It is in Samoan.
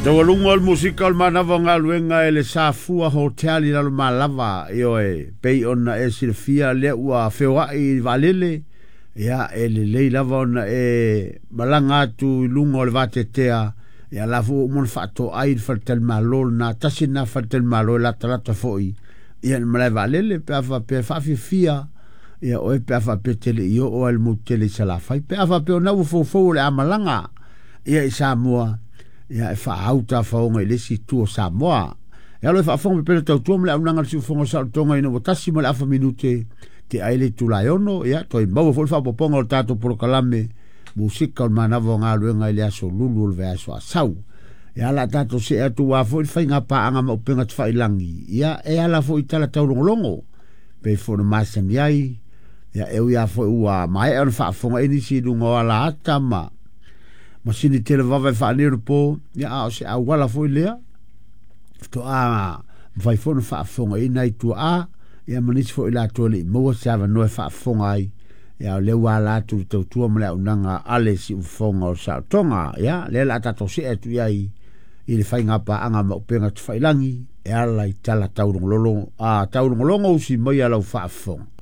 Taualuga o le musika o le manava o galuega e le Safua Hotel i Lalomalava, ioe, pei ona e silafia lea ua feoai i le vaalele, ia e lelei lava ona e malaga atu i luga o le vateatea, ia la foi ua uma ona faatoai le faletalimalo lena, tasi lena faletalimalo e latalata foi ia le malae vaalele pe a faapea e faafiafia ia oe pe a faapea e te le i oo ai le motu tele i Salafai, pe a faapea o na ua foufou o le a malaga ia i Samoa, ia e faaau tafaoga i le isi itu o Samoa. E alo e faafofoga pepelo tautua ma le auaunaga a le siufofoga o saolotoga ina ua 1 ma le afa minute te ai le itula e 6, ia toe maua foi le faaopoopoga o le tatou polokalame musika o le manava o galuega i le aso Lulu o le vaiaso a sau. Ia la tatou see atu ua foi le faiga paaga ma upega tafailagi, ia e ala foi i tala taulogologo pei foi ona masani ai, ia e ui lava foi ua maea ona faafofoga ai nisi i luga o ala ata ma masini televava e faanio le po, ia a o se auala foi lea faatoa mafai foi ona faafofoga i nai tuaa, ia ma nisi foi latou e le i maua se avanoa e faafofoga ai, ia o lea ua ala atu le tautua ma le auaunaga a le siufofoga o le saolotoga. Ia lea la tatou see atu i ai i le faiga paaga ma upega tafailagi e ala i tala taulogologo, a taulogologo usi mai a lau faafofoga.